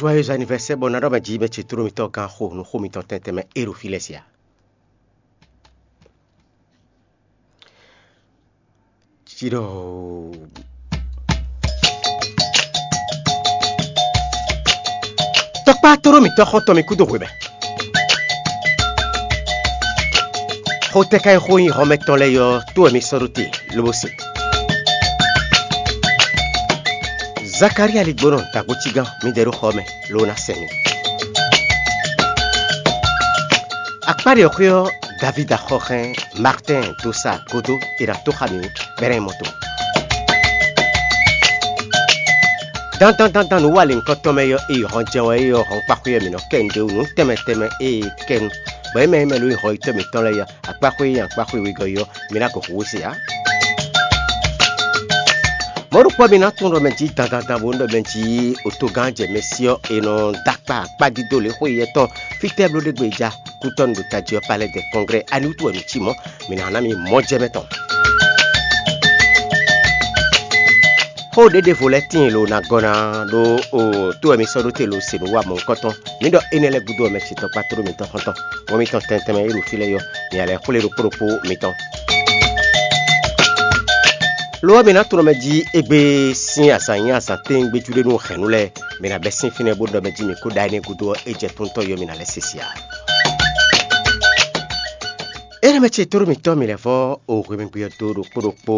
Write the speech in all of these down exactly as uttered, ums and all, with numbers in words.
Joyeux anniversaire bɔ ná ɖɔ mɛ jí mɛ ce tló mitɔn gán xo nú xó mitɔn tɛntɛn mɛ é ɖo fí lɛ́ɛ sia. Cí ɖɔ tɔkpá tló mitɔn xɔ́ntɔn mi kúdó hwe mɛ. Xó tɛ́ ká nyí xó nyí hɔnmɛ tɔn lɛ́ɛ ɔ́, tó wɛ mi sɔ́ ɖó te lobo se. Zakalía ligbónɔ dagbocí gán mi ɖɛ ɖó xɔ mɛ, ló ná sɛn mi. Akpáɖi ɔ́ xwé ɔ́, Davída xɔ hɛn Martɛ́n dó sa gúdo è nǎ tó xá mǐ bɛ́ ná nyí mɔto. Dandan dandan nǔ wa lěhunkɔtɔn mɛ ɔ́, e yi hɔn jɛ́n wɛ é ɔ́, hɔn kpáxwé ɔ́ mǐ nɔ kɛ nu ɖ'é wú nǔ tɛnmɛ tɛnmɛ e kɛ nu, bɔ é mɛ é mɛ ló nyí hɔyitɔ́ mǐtɔn lɛ́ɛ ɔ́, akpáxwé e nyí akpáxwé wegɔ́ é ɔ́, mi ná gɔn hu wú se ǎ. Mɔ̌ ɖokpó ɔ́, mi ná tunwun ɖɔ mɛ jí dandandan bónú ɖɔ mɛ jí otogán jɛ mɛ sí ɔ́, è nɔ dó akpa akpá dídó lě xwé yɛtɔn fítɛ́ bló ɖé gbe ja kútɔ́ nu ɖo tají ɔ́ palɛ́ dɛ kɔnglɛ́, ani wútu wɛ nǔ cí mɔ̌? Mi ná ná mi mɔ̌ jɛ mɛ tɔn. Xó ɖěɖěvo lɛ́ɛ tíin lo ná gɔ́ ná ɖó o tó wɛ mi sɔ́ ɖó te lo se nǔ wa mɔ̌hunkɔtɔn. Mǐ ɖɔ énɛ́ lɛ́ɛ gúdo ɔ́, mɛ ce tɔkpá tló mitɔn xɔ́ntɔn, mɔ mitɔn tɛntɛn mɛ e ɖo fí lɛ́ɛ ɔ́, mi ná lɛ́ xwlé ɖokpó ɖokpó mitɔn. Lo ɔ́, mi ná tunɔ mɛ jí égbé sín azǎn nyí azǎn tɛ́ngbéjú ɖé nú hɛ̌nnu lɛ́ɛ, mi ná bɛ́ sín fínɛ́ bó ɖɔ mɛ jí mi kó ɖa énɛ́ gúdo ɔ́, é jɛ tóntɔ́ yɔ mi ná lɛ́ se sia. Énɛ́ mɛ ce tló mitɔn mi lɛ́ vɔ́ o hwemɛgbe ɔ́ dó ɖokpó ɖokpó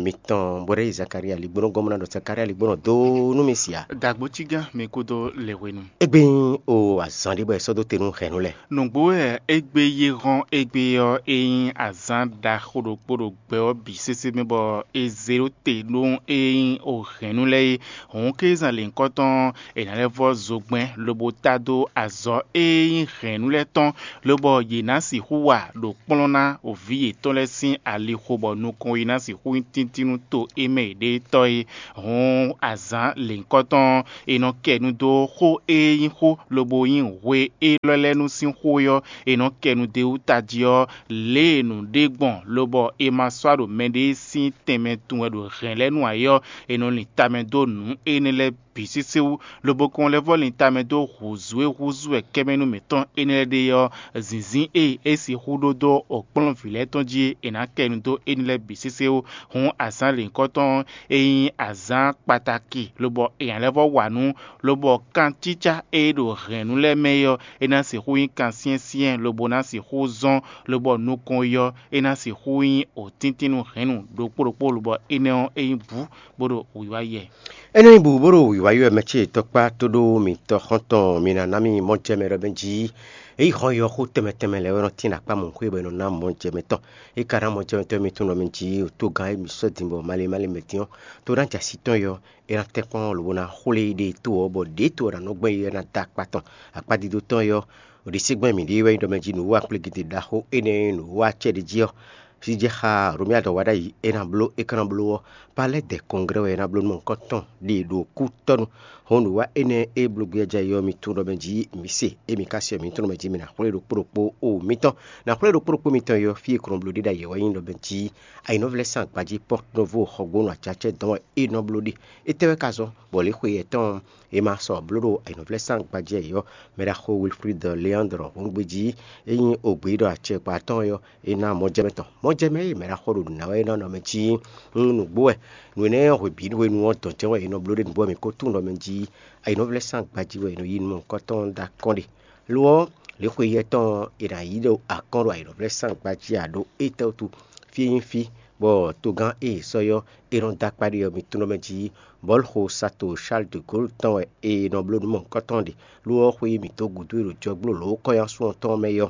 mitɔn, bó ɖɔ yi Zakalía ligbónɔ gɔ́n bó ná ɖɔ Zakalía ligbónɔ dó nú mi sia. Dagbocí gán mi kúdó le hwenu. Égbé nyí o azǎn ɖé bɔ è sɔ́ dó te nú hɛ̌nnu lɛ́ɛ. Nǔgbó wɛ égbé yé hɔ́n égbé ɔ́, é nyí azǎn ɖaxó ɖokpó ɖo gbɛ ɔ́ bǐ sésé mɛ bɔ è zě ɖó te nú é nyí o hɛ̌nnu lɛ́ɛ é. Hǔn kézán lěhunkɔtɔn è nǎ lɛ́ vɔ́ zogbɛ́n lobo tá dó azɔ̌ e nyí hɛ̌nnu lɛ́ɛ tɔn, lobɔ yě ná sixú wa ɖo kplɔ́n ná vǐ yětɔn lɛ́ɛ sín alixo bɔ nukɔn yi ná sixú nyí tíntín nú to e mɛ è ɖe tɔ́ é. Hǔn azǎn lěhunkɔtɔn è nɔ kɛ nu dó xó e nyí xó lobo nyí hwe élɔ́ lɛ́ɛ nu sín xó é ɔ́, è nɔ kɛ nu d'é wú tají ɔ́, lě e nǔ ɖe gbɔn lobɔ è ma sɔ́ ɖo mɛɖé sín tɛnmɛ tun wɛ ɖo hɛ̌n lɛ́ɛ nu ǎ é ɔ́, è nɔ lin tamɛ dó nǔ énɛ́ lɛ́ɛ bǐ sésé wú, lobo kɔn lɛ́ vɔ́ lin tamɛ dó hǔzú e húzú wɛ kɛ́mɛnú mǐtɔn énɛ́ lɛ́ɛ ɖe ɔ́, zǐnzín e é sixú ɖó dó kplɔ́nvǐ lɛ́ɛ tɔn jí é, è nǎ kɛ nu dó énɛ́ lɛ́ɛ bǐ sésé wú. Hǔn azǎn lěhunkɔtɔn e nyí azǎn kpatáki, lobɔ è nǎ lɛ́ vɔ́ wa nǔ, lobɔ kancícá e ɖo hɛ̌nnu lɛ́ɛ mɛ é ɔ́, é ná sixú nyí kansyɛ́nsyɛ́n, lobo ná sixú zɔ́n, lobɔ nukɔn yi ɔ́, é ná sixú nyí wǒtíntínnu hɛ̌nnu ɖokpó ɖokpó, lobɔ énɛ́ ɔ́, é nyí bǔ bó ɖo wǐwá yɛ. Énɛ́ nyí bǔ bó ɖo wǐwá yɔ mɛ ce tɔkpá tó ɖó mitɔn xɔ́ntɔn mi ná ná mì mɔ jɛ mɛ ɖɔ mɛ jí. Ényí xɔ yɔ xó tɛnmɛ tɛnmɛ lɛ́ɛ wɛ nɔ tín akpá mɔ̌ xwé bɔ è nɔ ná mɔ jɛ mɛ tɔn. É ka ná mɔ jɛ mɛ tɔn mi tunwun ɖɔ mɛ jí, to gán e mi sɔ́ din bɔ malé malé mɛ din ɔ́, to ná jɛ así tɔn yɔ, é ná tɛ́nkpɔ́n lobo ná xwlé ɖe to ɔ́, bɔ ɖě to ɔ́ ná nɔ gbɛn é ná dó akpá tɔn. Akpá dídó tɔn yɔ, ɖisígbɛ́n mǐɖée wɛ nyí ɖɔ mɛ jí nǔ wa kplégede ɖaxó énɛ́ e nǔ wa acɛ ɖ'é jí ɔ́, sí jɛ xá Romia dɔ wa ɖ'ayǐ é ná bló é ka ná bló ɔ́, palɛ́ dɛ kɔnglɛ́ wɛ é ná bló nú mɔ̌hunkɔtɔn ɖe ɖo kútɔ́nu. Hɔn nǔ wa énɛ́ e bló gbéjá yi ɔ́, mi tunwun ɖɔ mɛ jí mi se, émi ka se ɔ́, mi tunwun ɖɔ mɛ jí mi ná xwlé ɖokpó ɖokpó o mitɔn. Ná xwlé ɖokpó ɖokpó mitɔn yi ɔ́, fí e kɔn bló ɖe ɖ'ayǐ ɔ́ wɛ nyí ɖɔ mɛ jí ayǐnɔvlɛ́ sín agbají Pɔ́knovo xɔgbónu acacɛ dɔn wɛ é nɔ bló ɖe. Étɛ́ wɛ ka zɔ́n bɔ lě xwe yɛtɔn ɔ́, è ma sɔ bló ɖo ayǐnɔvlɛ́ sín agbají ɛ ɔ́, mɛ ɖaxó Wilfrid Leandre hɔn gbe jí, é nyí ògbě ɖɔ acɛkpa tɔn ɔ́, é ná mɔjɛmɛ tɔn. Mɔjɛmɛ e mɛ ɖaxó ɖo nǔ ná wɛ é nɔ nɔ mɛ jí nú nǔgbó wɛ. Nǔ énɛ́ ɔ́ hwebǐ hwenu ɔ́ dɔn jɛ́n wɛ è nɔ bló ɖe nǔgbó ɔ́ mɛ kó tunwun ɖɔ mɛ jí ayǐnɔvlɛ́ sín agbají wɛ è nɔ yí nú mɔ̌hunkɔtɔn dó akɔ́n ɖe. Lo ɔ́, lě xwe yɛtɔn ɔ́, è nǎ yí ɖo akɔ́n ɖo ayǐnɔvlɛ́ sín agbají ǎ ɖó étɛ́wútu? Fí e nyí fí bɔ togán e è sɔ́ ɔ́, è nɔ dó akpá ɖe ɔ́, mi tunwun ɖɔ mɛ jí bɔ̌luxo sato Charles de Gaulle tɔn wɛ è nɔ bló nǔ mɔ̌hunkɔtɔn ɖe. Lo ɔ́, xwe e mǐ dó gǔdo e ɖo jɔgbó lǒ kɔ́nyasun ɔ́ tɔn mɛ é ɔ́,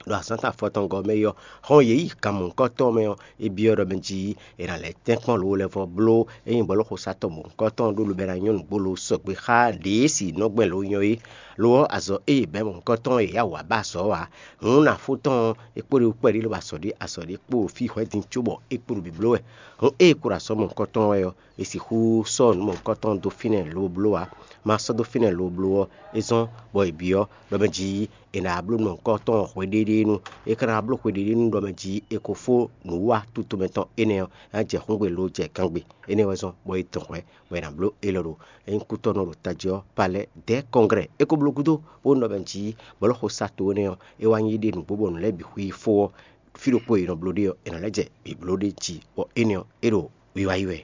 ɖo azǎn tɔn afɔtɔngɔ́ mɛ é ɔ́, hɔn yě yi kan mɔ̌hunkɔtɔn mɛ ɔ́, é byɔ́ ɖɔ mɛ jí è nǎ lɛ́ tɛ́nkpɔ́n lǒ lɛ́ vɔ bló é nyí bɔ̌luxo satɔ́ mɔ̌hunkɔtɔn ɖó lobɛ́ ná nyɔ́ nǔgbó lo sɔgbe xá ɖě e si nɔ gbɛn lǒ nyɔ́ é. Lo ɔ́, azɔ̌ e è bɛ̌ mɔ̌hunkɔtɔn e è yá wǔ wá ba azɔ̌ ɔ́ ǎ. Hǔn nǎ fó tɔn ɔ́, é kpóɖé kpɛɖé lobo azɔ̌ ɖé azɔ̌ ɖé kpo ɖo fí hwɛ̌din cóbɔ é kpo ɖo bibló wɛ. Hǔn ée è kpo ɖo azɔ̌ mɔ̌hunkɔtɔn wɛ ɔ́, è sixú sɔ́ nǔ mɔ̌hunkɔtɔn dó fínɛ́ lobo bló ǎ. Ma sɔ́ dó fínɛ́ lobo bló ɔ́, é zɔ́n bɔ è byɔ́ ɖɔ mɛ jí è nǎ bló nɔ nukɔntɔn hweɖéɖénu. É ka ná bló hweɖéɖénu ɖɔ mɛ jí è ko fó nǔwiwa tutomɛ tɔn énɛ́ ɔ́, é ná jɛ xúngbe lo jɛ gángbe. Énɛ́ wɛ zɔ́n bɔ è dɔn hwɛ̌ bɔ è nǎ bló élɔ́ ɖo é nyí kútɔ́nú ɖo tají ɔ́, palɛ́ dɛ̌ kɔnglɛ́ é ko bló gúdo, bó nɔ mɛ jí bɔ lɔ́ xo sa to énɛ́ ɔ́, é wá nyí ɖe nǔgbó bɔ nǔ lɛ́ɛ bǐ xwí fó ɔ́, fí ɖokpó e è nɔ bló ɖe ɔ́, è nǎ lɛ́ jɛ bǐ bló ɖ'é jí, bɔ énɛ́ ɔ́, é ɖo wiwa yí wɛ.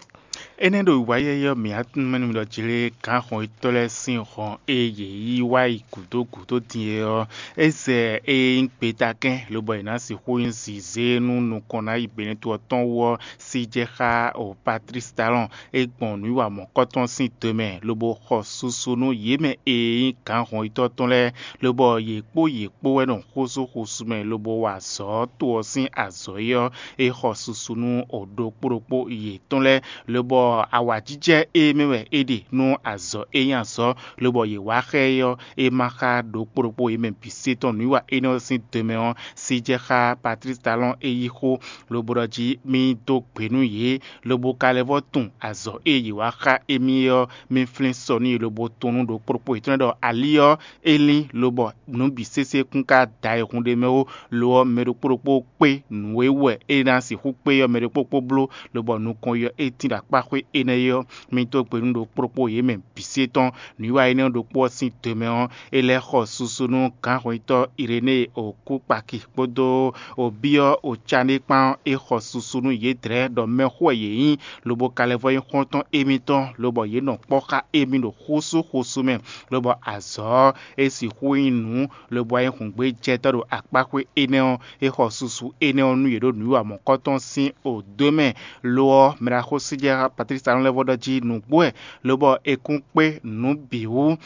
Énɛ́ ɖo wiwa yí wɛ ɔ́, mǐ wá tunwun mɛ nú mi ɖɔ jlé gǎn hɔn-yitɔ́ lɛ́ɛ sín hɔn e yě yí wá yi gǔdo gǔdo din é ɔ́, é zɛ e nyí gbetakɛ́n, lobɔ è nǎ sixú nyí zǐzé nú nukɔn ná yi Benɛ́to ɔ́ tɔn wú ɔ́, sí jɛ xá o Patlísi Talɔ́n. É gbɔn nǔwiwa mɔ̌kɔtɔn sín do mɛ, lobo xɔ susu nú yě mɛ e nyí gǎn hɔn-yitɔ́ tɔn lɛ́ɛ, lobɔ yě kpó yě kpó wɛ nɔ xózú xúsú mɛ, lobo wa azɔ̌ to ɔ́ sín azɔ̌ é ɔ́, é xɔ susu nú o ɖokpó ɖokpó yětɔn lɛ́ɛ, lobɔ awǎjijɛ e mɛ wɛ é ɖe nú azɔ̌ e nyí azɔ̌, lobɔ yě wá xá ɛ ɔ́, é ma xá ɖokpó ɖokpó yě mɛ bǐ se tɔn nǔwiwa énɛ́ ɔ́ sín do mɛ ɔ́, sí jɛ xá Patlísi Talɔ́n é yí xó, lobo ɖɔ jí mì dó gbe nú yě, lobo ka lɛ́ vɔ́ tunwun azɔ̌ e yě wá xá émí é ɔ́, mì flín sɔ nú yě lobo tunwun nú ɖokpó ɖokpó yětɔn lɛ́ɛ ɖɔ ali ɔ́, é lín, lobɔ nǔ bǐ sésé kún ka da ayihún ɖ'é mɛ ó. Lo ɔ́, mɛ ɖokpó ɖokpó kpé nǔ e wɛ é ná sixú kpé ɔ́, mɛ ɖokpó ɖokpó bló, lobɔ nukɔn yi ɔ́, é tín ɖo akpá xwé énɛ́ é ɔ́, mì dó gbe nú ɖokpó ɖokpó yě mɛ bǐ se tɔn. Nǔwiwa énɛ́ ɖokpó ɔ́ sín do mɛ ɔ́, é lɛ́ xɔ susu nú gǎnhɔnyitɔ́ Irenée Okúkpaki kpódó Obyɔ́ Ocané kpán ɔ́, é xɔ susu nú yědɛɛ ɖɔ mɛxó wɛ yě nyí, lobo ka lɛ́ vɔ́ nyí xɔ́ntɔn émítɔn, lobɔ yě nɔ kpɔ́ xá émí ɖo xósú xósú mɛ, lobɔ azɔ̌ ɔ́, é sixú nyí nǔ, lobo wá nyí hǔngbéjɛtɔ́ ɖo akpáxwé énɛ́ ɔ́, é xɔ susu énɛ́ ɔ́ nú yě ɖo nǔwiwa mɔ̌kɔtɔn sín odó mɛ. Lo ɔ́, mɛ ɖaxó Síjɛ́ Patlísi Talɔn lɛ́ vɔ́ ɖɔ jí nǔgbó wɛ, lobɔ è kún kpé nǔ bǐ wú,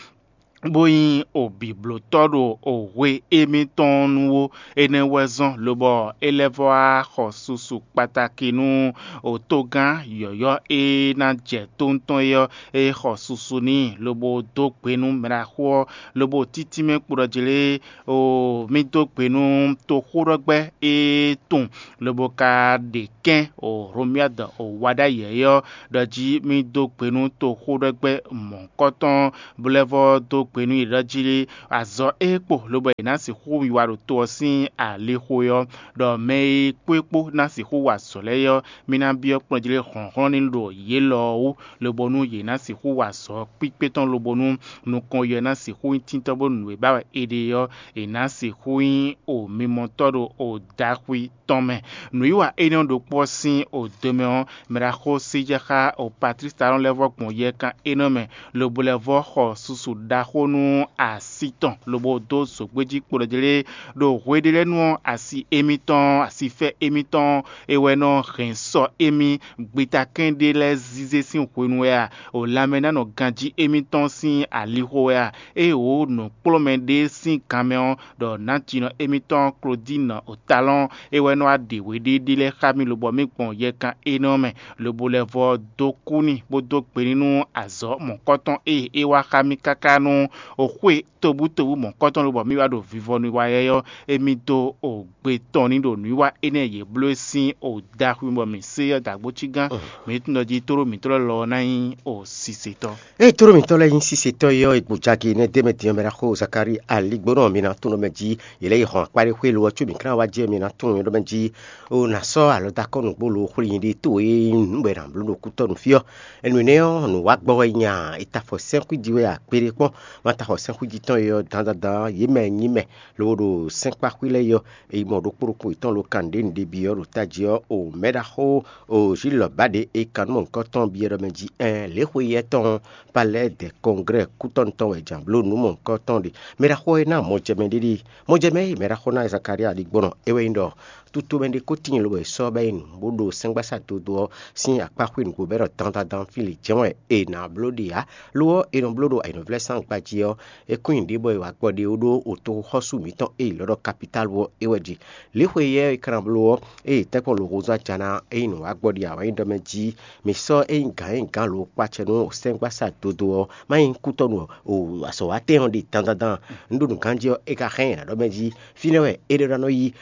bó nyí obǐblótɔ́ ɖo ohwe émítɔn nu ó. Énɛ́ wɛ zɔ́n lobɔ é lɛ́ vɔ́ wá xɔ susu kpatáki nú otogán yɔ̌yɔ́ e ná jɛ tóntɔn é ɔ́, é xɔ susu n'i, lobo dó gbe nú mɛɖaxó ɔ́, lobo títí mɛ kpo ɖɔ jlé, o mì dó gbe nú toxóɖɔgbɛ́ e tunwun, lobo ka ɖe kɛ́n o Hlomyɔ́dɔ o wa ɖ'ayǐ ɔ́ ɖɔ jí mì dó gbe nú toxóɖɔgbɛ́ mɔ̌hunkɔtɔn, bó lɛ́ vɔ́ dó gbe nú yě ɖɔ jí azɔ̌ e kpo, lobo è nǎ sixú wiwa ɖo to ɔ́ sín alixo é ɔ́, ɖɔ mɛ e kpó é kpó ná sixú wa azɔ̌ lɛ́ɛ é ɔ́, mì ná byɔ́ kplɔ́njlé hlɔ̌nhlɔ́n ní ɖo yě lɔ ɔ́ wú, lobo nú yě ná sixú wa azɔ̌ kpíkpé tɔn, lobo nú nukɔn yɔ ná sixú nyí tíntɔ́ bónú nǔ e ba wɛ è ɖe ɔ́, è nǎ sixú nyí o mimɔtɔ́ ɖo o daxwi tɔn mɛ. Nǔwiwa énɛ́ ɔ́ ɖokpó ɔ́ sín o do mɛ ɔ́, mɛ ɖaxó Síjɛ́ xá o Patlísi Talɔn lɛ́ vɔ́ gbɔn yɛkan énɛ́ mɛ, lobo lɛ́ vɔ́ xɔ susu ɖaxó nú así tɔn, lobo dó zǒgbéjí kpo ɖɔ jlé ɖo hweɖélɛ́nu ɔ́, asi émítɔn, asifɛ émítɔn, é wɛ nɔ hɛn sɔ émí. Gbitakɛ́n ɖé lɛ́ɛ zízé sín hwenu wɛ a? O lanmɛ ná nɔ ganjí émítɔn sín alixo wɛ a? Ée wǒ nǔkplɔ́nmɛ ɖé sín gan mɛ ɔ́, ɖɔ nǎjínɔ émítɔn Klodíinu Otalɔ́n é wɛ nɔ wá ɖe hweɖéɖé lɛ́ɛ xá mì, lobɔ mì gbɔn yɛkan énɛ́ ɔ́ mɛ, lobo lɛ́ vɔ́ dó kú n'i, bó dó gbe n'i nú azɔ̌ mɔ̌kɔtɔn e é wá xá mì káká nú xwé tobútobú mɔ̌kɔtɔn, lobɔ mì wá ɖo vivɔnu wa yɛ́yɔ́, émí dó o gbe tɔn ní ɖo nǔwiwa énɛ́ e yě bló é sín o daxwi bɔ mǐ se ɔ́ dǎgbó cí gán. Mǐ tunwun ɖɔ jí tóɖó mǐtɔn lɛ́ɛ lɔ ɔ́ ná nyí o sisetɔ́. Ée tóɖó mǐtɔn lɛ́ɛ nyí sisetɔ́ é ɔ́, è gbǒ jagi nɛ́ dé mɛ din ɔ́, mɛ ná xo Zakalíi aligbónɔ mǐ ná tunwun mɛ jí yě lɛ́ yi hɔn akpáɖé xwé lo ɔ́, có mǐ klán wá jɛ mǐ ná tunwun nyɔ́ mɛ jí. O nǎ sɔ́ alɔdakɔ́nugbo lo xwlí nyí ɖé towe e nyí nǔ bɔ è nǎ bló ɖo kútɔ́ nú fí ɔ́. Énɛ́ ɔ́, nǔ wá gbɔ wɛ nya è ta afɔ sɛ́nxwíji wɛ akpéɖé kpɔ́n, ma ta xɔ sɛ́nxwíji tɔn e ɔ́ dandandan, yě mɛ nyí mɛ lobo ɖo sɛ́nkpáxwí lɛ́ɛ yɔ. È yi mɔ ɖokpó ɖokpó yětɔn lo kan nǔɖé nǔɖé byɔ́ ɖo tají ɔ́, o mɛɖaxó o Zilɔbáɖe e kan nú mɔ̌hunkɔtɔn byɔ́ ɖɔ mɛ jí ɛn lě xwe yɛ tɔn ɔ́, palɛ́ dɛ kɔnglɛ́ɛ kútɔ́nu tɔn wɛ jǎn bló nǔ mɔ̌hunkɔtɔn ɖe. Mɛɖaxó ɔ́ e ná mɔjɛmɛ ɖé ɖi. Mɔjɛmɛ e mɛɖaxó ná Zakalía ɖi gbɔn ɔ́, é wɛ nyí ɖɔ tutomɛ ɖé ko tíin lobo è sɔ́ bɔ é yi nǔ bó ɖo sɛ́ngbásá dodo ɔ́ sín akpá xwé nǔgbó bɔ é ɖɔ dandandan fí lě jɛ́n wɛ è nǎ bló ɖe ǎ. Lo ɔ́, è nɔ bló ɖo anyǔvlɛ́sán gbají ɔ́, é kún nyi ɖě bɔ è wǎ gbɔ ɖe ó ɖó otoxɔ́sú mǐtɔn e è ylɔ́ ɖɔ kapitálu ɔ́ é wɛ ɖi. Lě xwe yɛ è ka ná bló ɔ́, ée è tɛ́nkpɔ́n lo hozú aja ná é nyí nǔ wá gbɔ ɖi awǎnyíɖɔ mɛ jí, mǐ sɔ́ é nyí gǎn e nyí gǎn lo kpácɛ nú sɛ́ngbásá dodo ɔ́, má nyí kútɔ́nu ɔ́, o azɔ̌watɛn ɔ́ ɖe dandandan. Un ɖo nǔ ganjí ɔ́, é ka xá nyɛ ná ɖɔ mɛ jí, fínɛ́ wɛ é ɖe ná nɔ yí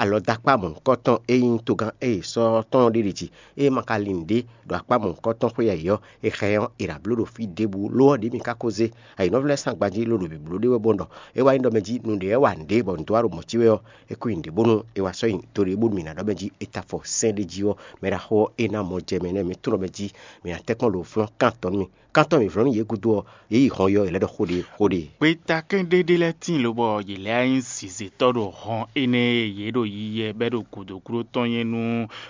alɔdakpá mɔ̌hunkɔtɔn e nyí togán e è sɔ́ tɔn ɔ́ ɖe ɖi jí. Ée ma ka lin nǔɖé ɖo akpá mɔ̌hunkɔtɔn xwé ayǐ ɔ́, è xá ɛ ɔ́, è nǎ bló ɖo fí ɖěbǔ, lo ɔ́, ɖě mi ka ko zé. Ayǐ nɔ Vlɛ́ sín agbají ló ɖo bǐbló ɖé wɛ bó ɖɔ é wá nyí ɖɔ mɛ jí nǔɖé wɛ wa nǔɖé bɔ nǔ dó wá ɖo mɔ̌ cí wɛ ɔ́, é kó nyi nǔɖé bónú é wá sɔ́ nyi to ɖé bónú mǐ ná ɖɔ mɛ jí é ta afɔ sɛ́n ɖé jí ɔ́, mɛ ɖaxó ɔ́ é ná mɔ jɛ mɛ nɛ́ mǐ tunwun ɖɔ mɛ jí mǐ ná tɛ́nkpɔ́n ɖo flɔ́n kántɔn nú mì. Kántɔn mǐ vlɔ́ nú yě gúdo ɔ́, yě yi hɔn yɔ yě lɛ́ ɖɔ xó ɖé xó ɖé. Gbeta kɛ́n ɖé ɖé lɛ́ɛ tíin lobɔ yě lɛ́ nyí zǐzétɔ́ ɖo hɔn énɛ́ e yě ɖo yiyi wɛ bɔ é ɖo gǔdo gúdo tɔn nyɛ nú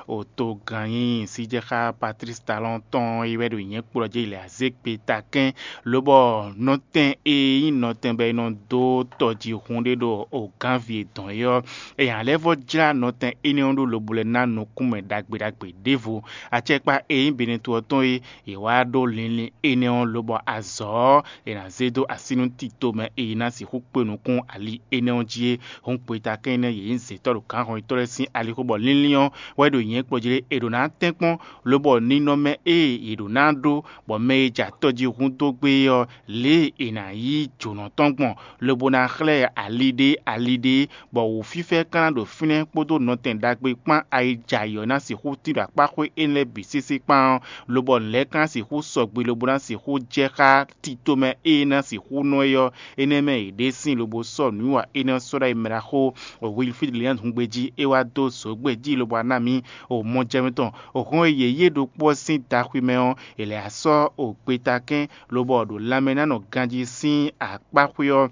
otogannyi síjɛxá Patlísi Talɔ́n tɔn é wɛ ɖo nyɛ̌kpo ɔ́ jí lɛ azé gbeta kɛ́n, lobɔ nɔtɛn e nyí nɔtɛn bɔ è nɔ dó tɔjihún ɖé ɖo ogánvi e dɔn é ɔ́, è nǎ lɛ́ vɔ́ jlá nɔtɛn énɛ́ ɔ́ ɖó lobo lɛ́ ná nukúnmɛ ɖagbe ɖagbe ɖěvo. Acɛkpá e nyí Benɛto ɔ́ tɔn é, yě wá ɖó linlin énɛ́ ɔ́ lobɔ azɔ̌ ɔ́, è nǎ zé dó así nú tito mɛ e ná sixú kpé nukún ali énɛ́ ɔ́ jí é. Hǔn gbeta kɛ́n énɛ́ yě nyí zětɔ́ ɖo gǎnhɔnyitɔ́ lɛ́ɛ sín alixo bɔ linlin ɔ́ wɛ ɖo nyɛ̌ kplɔ́n jí lé è ɖǒ ná tɛ́nkpɔ́n, lobɔ ninɔmɛ e yě ɖǒ ná ɖó, bɔ mɛ e jɛ atɔ́ jí húndó gbé é ɔ́, lě e è nǎ yí jǒnɔ tɔn gbɔn, lobo ná xlɛ́ ali ɖé ali ɖé, bɔ wǔfífɛ́ ka ná ɖo fínɛ́ kpódó nɔtɛn ɖagbe kpán ayijayǐ ɔ́ ná sixú tín ɖo akpáxwé énɛ́ lɛ́ɛ bǐ sésé kpán ɔ́, lobɔ nǔ lɛ́ɛ ka ná sixú sɔgbe lobo ná sixú jɛ xá tito mɛ e ná sixú nɔ é ɔ́, énɛ́ mɛ yě ɖe sín lobo sɔ́ nǔwiwa énɛ́ ɔ́ sɔ́ ɖó ayi mɛ ɖaxó Wilfríd Lián hungbe jí é wá dó zǒgbé jí lobo wá ná mǐ o mɔjɛmɛ tɔn. O hɔn e yě yí é ɖokpó ɔ́ sín daxwi mɛ ɔ́, è lɛ̌ wá sɔ́ o gbeta kɛ́n lobɔ ɖo lanmɛ ná nɔ ganjí sín akpáxwé ɔ́,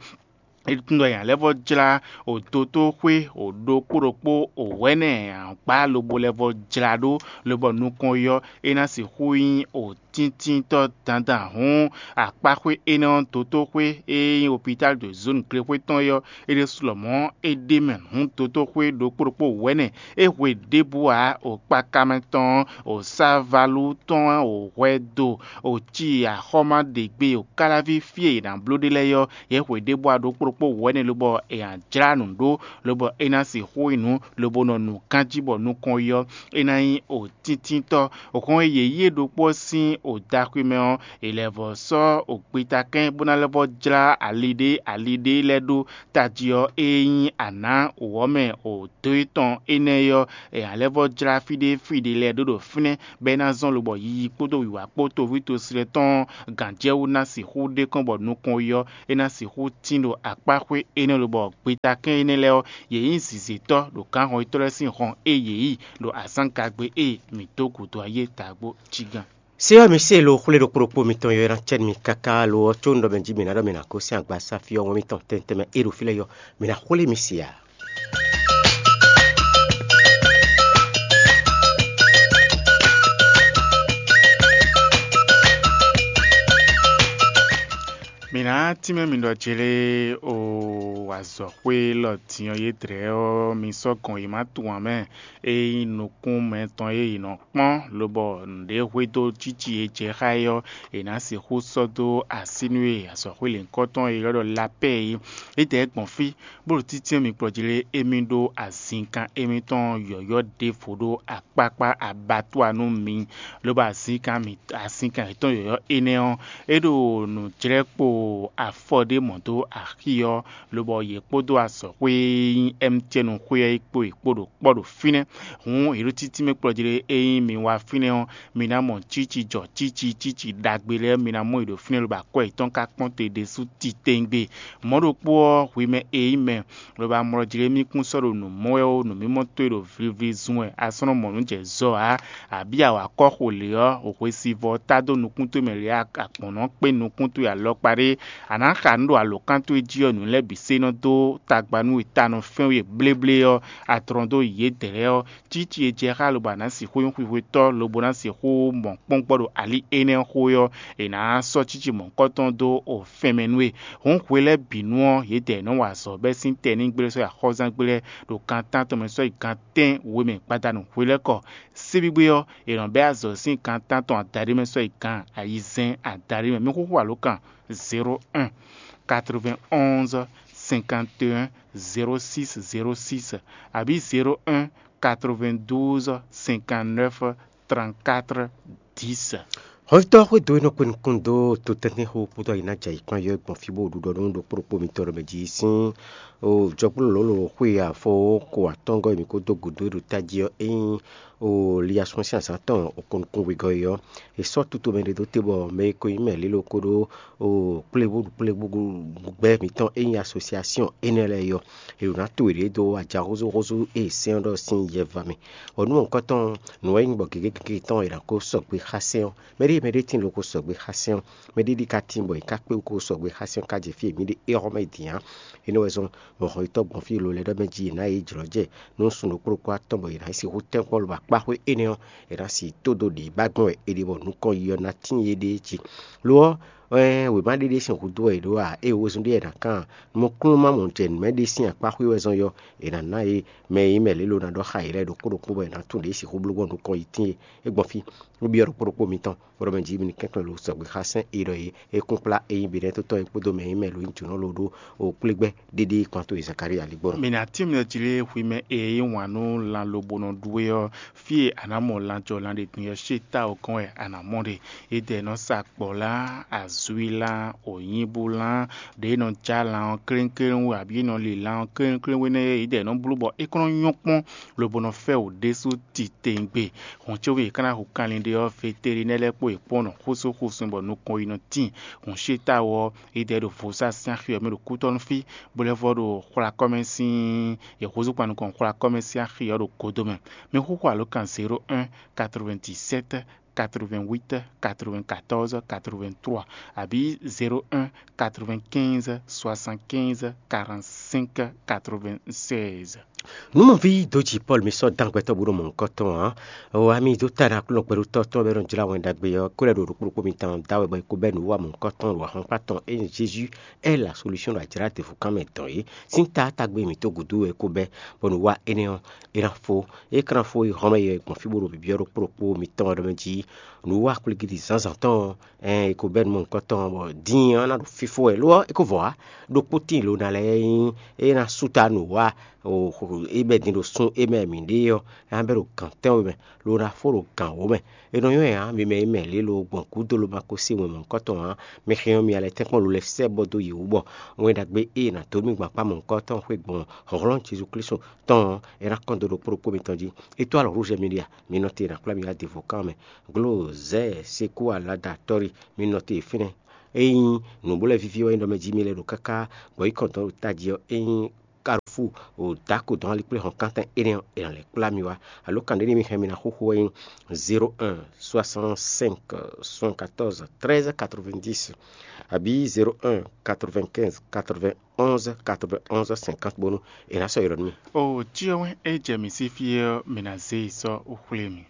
é tunwun ɖɔ nya lɛ́ vɔ́ jlá o dotóxwé o ɖokpó ɖokpó o wɛ̌nɛ ǎ gbá lobo lɛ́ vɔ́ jlá ɖó, lobɔ nukɔn yɔ é ná sixú nyí o tíntintɔ́ dandan hǔn akpáxwé énɛ́ ɔ́ dotóxwé e nyí opitál de zónu glexwé tɔn é ɔ́, é ɖésú lɔmɔ̌ é ɖ'é mɛ hǔn dotóxwé ɖokpó ɖokpó wɛ̌nɛ é hwe ɖěbǔ ǎ o kpakamɛ tɔn o sávalú tɔn o hwɛ do o ci axɔ́má ɖě gbe o káláví fí e è nǎ bló ɖe lɛ́ɛ ɔ́, yě hwe ɖěbǔ ǎ ɖokpó ɖokpó wɛ̌nɛ lobɔ è nǎ jlá nǔ ɖó, lobɔ é ná sixú nyí nǔ lobo nɔ nu ganjí bɔ nukɔn yi ɔ́, é ná nyí o tíntintɔ́. Hɔn e yě yí é ɖokpó ɔ́ sín o daxwi mɛ ɔ́, è lɛ́ vɔ́ sɔ́ o gbeta kɛ́n bó ná lɛ́ vɔ́ jlá ali ɖé ali ɖé lɛ́ɛ ɖó tají ɔ́ e nyí anǎ wǒ ɔ́ mɛ o dó étɔn énɛ́ é ɔ́, è nǎ lɛ́ vɔ́ jlá fí ɖé fí ɖé lɛ́ɛ ɖó ɖo fínɛ́, bɔ é ná zɔ́n lobɔ yiyi kpódó wǐwá kpó toví tosilɛ tɔn gǎnjɛwú ná sixú ɖe kɔn bɔ nukɔn yi ɔ́, é ná sixú tín ɖo akpáxwé énɛ́ lobɔ gbeta kɛ́n énɛ́ lɛ́ɛ ɔ́, yě nyí zǐzétɔ́ ɖo gǎnhɔnyitɔ́ lɛ́ɛ sín hɔn e yě yi ɖo azǎngagbe e mǐ dó gǔdo ayé tagbó jí gán. Se ɔ́, mi se lo xwlé ɖokpó ɖokpó mitɔn yɔ ná cɛ́ nú mi káká lo ɔ́, có un ɖɔ mɛ jí mi ná ɖɔ mi ná gosín agbasá fí ɔ́, wɛn mitɔn tɛntɛn mɛ é ɖo fí lɛ́ɛ yɔ, mi ná xwlé mi se ǎ. Mi ná tínmɛ mi ɖɔ jlé o azɔ̌xwé lɔ din ɔ́ yédrɛ́ ɔ́, mi sɔ́ gɔn yi má tunwun ǎ mɛ. É nyí nukún mɛtɔn e yě nɔ kpɔ́n, lobɔ nǔɖé hwedó jíjí e jɛ xá é ɔ́, è nǎ sixú sɔ́ dó así nú e azɔ̌xwé lěhunkɔtɔn e ylɔ́ ɖɔ lapɛ́ é. É dɛ gbɔn fí, bó ɖo títí mi kplɔ́ jí lé, émí ɖó azinkan émítɔn yɔ̌yɔ́ ɖěvo ɖó akpákpá abattoir nú mi, lobo azinkan mi azinkan yětɔn yɔ̌yɔ́ énɛ́ ɔ́, é ɖo nǔjlɛ́kpo afɔ ɖé mɔ dó axi ɔ́, lobɔ yě kpódó azɔ̌xwé e nyí M T N xwé ɔ́ yi kpó yě kpó ɖo kpɔ́ ɖo fínɛ́. Hǔn yě ɖo títí mɛ kplɔ́ jí lé, ényí mi wá fínɛ́ ɔ́, mi ná mɔ cíci jɔ cíci cíci ɖagbe lɛ́ɛ, mi ná mɔ yě ɖo fínɛ́, lobo akwɛ́ yětɔn ka kpɔ́n te ɖésú titewungbe. Mɔ̌ ɖokpó ɔ́, hwi mɛ e nyí mɛ, lobo amlɔ jí lé mì kún sɔ́ ɖo nǔ mɔ wɛ ó, nǔmimɔ towe ɖo vlivli zun wɛ, a sɔ́ nɔ mɔ nǔ jɛ zɔ ǎ, abǐ a wa kɔ́ xo lě ɔ́, hwesivɔ́ ɔ́ tá dó nukún towe mɛ lě, a gbɔ̌n nɔ kpé nukún towe alɔkpa ɖé, a nǎ xa nǔ ɖo alǒkan towe jí ɔ́, nǔ lɛ́ɛ bǐ se nɔ dó tagba nú we ta nɔ fɛ́n we bléblé ɔ́, a tlɔ́n dó yědɛɛ lɛ́ɛ ɔ́, cíci e jɛ xá lobo a nǎ sixú nyí xwixwetɔ́ lobo ná sixú mɔ kpɔ́ngbɔ́ ɖo ali énɛ́ xo é ɔ́, è nǎ sɔ́ cíci mɔ̌hunkɔtɔn dó o fɛn mɛ nú we. Hǔn hwe lɛ́ɛ bǐ nu ɔ́, yědɛɛ nɔ wa azɔ̌ bɛ́ sín tɛnígblé sɔ́ yi axɔ́zángbé lɛ́ɛ ɖo gan tántɔn mɛ sɔ́ yi gan tɛ́n we mɛ gbadanu hwe lɛ́ɛ kɔ. Síbígbé ɔ́, è nɔ bɛ́ azɔ̌ sín gan tántɔn adaɖé mɛ sɔ́ yi gan ayizɛ́n adaɖé mɛ. Mi xúxú alǒkan zéro un quatre-vingt-onze cinquante et un zéro six zéro six abǐ zéro un quatre-vingt-douze cinquante-neuf trente-quatre dix. Xɔvítɔ́ xwédo e nɔ kpe nukún dó totɛ́ntin xó kpódó ayǐ ná jɛ ayǐ kpán yɔ́ gbɔn fí bó ɖuɖɔ nú ɖokpó ɖokpó mitɔn ɖɔ mɛ jí sín jɔkplɔ́lɔ̌lɔ̌ xwe afɔ kó atɔ́ngɔ́ e mǐ kó dó gǔdo e ɖo tají ɔ́, é nyí Liasún sín azǎn tɔn okɔn nukún wegɔ́ é ɔ́, è sɔ́ tutomɛ ɖé dó te bɔ mɛ e ko nyí mɛ lílo kpódó kplébúɖukplébúgbɛ́ mǐtɔn e nyí asosiasíɔn énɛ́ lɛ́ɛ é ɔ́, è ɖǒ ná to yě ɖó ajaxózúxózú e è sɛ́n ɔ́ ɖɔ sín yɛ va mɛ. Bɔ nǔ mɔ̌hunkɔtɔn, nǔ wɛ nyí bɔ gěgé gěgé tɔn è nǎ kó sɔgbe xá sɛ́n ɔ́. Mɛɖé mɛɖé tíin loko sɔgbe xá sɛ́n ɔ́, mɛɖé ɖi ka tíin bɔ è ka kpé wú kó sɔgbe xá sɛ́n ɔ́ ka jɛ fí e mǐ ɖe é xɔ́ mɛ din ǎ. Énɛ́ wɛ zɔ́n bɔ hɔnyitɔ́ gbɔn fí e lo lɛ́ ɖɔ mɛ jí è nǎ yě jlɔ́ jɛ nú sun ɖokpó ɖokpó atɔn bɔ è nǎ yi sixú tɛ́nkpɔ́n lobɔ akpáxwé énɛ́ ɔ́, è nǎ si tó dó ɖě ba gbɔn wɛ è ɖe bɔ nukɔn yi ɔ́ ná tíin yéɖée jí. Lo ɔ́, wěma ɖé ɖésú húzú wɛ è ɖǒ ǎ, ée wezun ɖé è nǎ kan nukúnnú ma mɔ jɛ nǔ mɛ ɖé sín akpáxwé wɛ zɔn yɔ, è nǎ ná yě mɛ e nyí mɛ lě lo ná ɖɔ xá yě lɛ́ɛ ɖokpó ɖokpó bɔ è nǎ tunwun ɖě sixú bló gbɔn nukɔn yi tíin é gbɔn fí. Nú byɔ́ ɖokpó ɖokpó mitɔn, bó ɖɔ mɛ jí mi ní kɛnklɛ́n lo sɔgbe xá sɛ́n e ɖɔ é é kún kplá é nyí Benɛ́totɔ́ é kpódó mɛ e nyí mɛ lo nyí jǒnɔ lo ɖó o kplé gbɛ́ ɖéɖé kpán towe Zakalía ligbɔ́nɔ. Mǐ ná tín mɛ jí lé xwi mɛ e yí wǎn nú lan lobo nɔ ɖu é ɔ́, fí e a nǎ mɔ lan jɔ lan ɖe din ɔ́, xwé táwǔ kɔn wɛ a nǎ mɔ ɖe. Édɛɛ nɔ sa kpɔ̌ lan, azwí lan, wǒnyíbú lan, ɖě nɔ já lan ɔ́ kléŋkléŋ wú abǐ é nɔ li lan ɔ́ kléŋkléŋ wú énɛ́ é, édɛɛ nɔ bló bɔ é kɔn nɔ nyɔ́ kpɔ́n lobo nɔ fɛ wǔ ɖésú titewungbe. Hǔn cóbɔ è ka ná hu kanlin ɖe ɔ́, veterinɛ́ lɛ́ɛ kpó yě kpɔ́n nɔ xósó xósun bɔ nukɔn yi nɔ tíin. Hǔn xwé táwǔ ɔ́, édɛɛ ɖo vodúnsi sín axi ɔ́ mɛ ɖo kútɔ́nú fí, bó lɛ́ vɔ́ ɖo xwla kɔ́mɛ sín yě húzú kpan nukɔn xwla kɔ́mɛ sín axi ɔ́ ɖo godo mɛ. Mi xúxú alǒkan zéro un, quatre-vingt-dix-sept, quatre-vingt-huit, quatre-vingt-quatorze, quatre-vingt-trois, abǐ zéro un, quatre-vingt-quinze, soixante-quinze, quarante-cinq, quatre-vingt-seize. Nǔmɔví dǒjì Pɔ́lu mi sɔ́ dán gbɛtɔ́ bó ɖo mɔ̌hunkɔtɔn ǎ. O ami dó ta ɖo Aklúnɔ kpɛɖutɔ́ tɔn bɔ é nɔ jlá Wɛn Ɖagbe ɔ́ kó lɛ́ ɖo ɖokpó ɖokpó mitɔn da wɛ bɔ é kó bɛ́ nǔwiwa mɔ̌hunkɔtɔn ɖo ahwankpá tɔn e nyí Jezu Ɛ́ la solúsyɔn ɖo ajlǎ ɖěvo kan mɛ dɔn é. Sín taátagbe mǐtɔn gúdo wɛ é kó bɛ́, bɔ nǔwiwa énɛ́ ɔ́, é ná fó. É ka ná fó yi hɔn mɛ yɛ gbɔn fí bó ɖo byɔ́ ɖokpó ɖokpó mitɔn ɔ́ ɖɔ mɛ jí nǔwiwa kplígídi zǎnzǎn tɔn ɔ́, ɛn è ko bɛ́ nǔ mɔ̌hunkɔtɔn ɔ́, bɔ din ɔ́ ná ɖo fífó wɛ. Lo ɔ́, é ko vɔ ǎ, ɖokpó tíin lo ná lɛ́ɛ nyí é ná sú ta nǔwiwa é bɛ́ din ɖo sún é mɛ mǐ ɖe ɔ́, é ná bɛ́ ɖo gǎn tɛ́nwe mɛ, lo ná fó ɖo gǎn wǒ mɛ. È nɔ nywɛ́ ǎ, mi mɛ e mɛ lě lo gbɔn gǔdo lo ma ko se wɛn mɔ̌hunkɔtɔn ǎ, mi xyɔ́n mi alɛ tɛ́nkpɔ́n lo lɛ́ sɛ́ bɔ dó yě wú bɔ Wɛn Ɖagbe e è nǎ dó mì gbɔn akpá mɔ̌hunkɔtɔn xwé gbɔn hlɔ̌nhlɔ́n Jezu Klísu tɔn ɔ́, é ná kɔn dó ɖokpó ɖokpó mitɔn jí. Étoile Rouge Media, mi nɔ te è nǎ kplá mi wá devo kan mɛ. Glo zɛ sekú alada tɔ́ri, mi nɔ te fínɛ́. Ényí nǔbólɛ́víví wɛ nyí ɖɔ mɛ jí mi lɛ́ ɖo káká bɔ yi kɔn dɔn ɖo tají ɔ́, ényí Carrefour o dǎ ko dɔn ali kplé hɔn kántɛn énɛ́ ɔ́, è nǎ lɛ́ kplá mi wá. Alo kan ɖé ní mi hɛn mi ná xóxó wɛ nyí zéro un soixante cinq soixante quatorze treize quatre vingt dix, abǐ zéro un quatre vingt quinze quatre vingt onze quatre vingt onze cinquante bónú è nǎ sɔ́ ylɔ́ nú mi. O cyɔ wɛn e jɛ mǐ sí fí ɔ́, mǐ ná zé yi sɔ́ xwlé mi.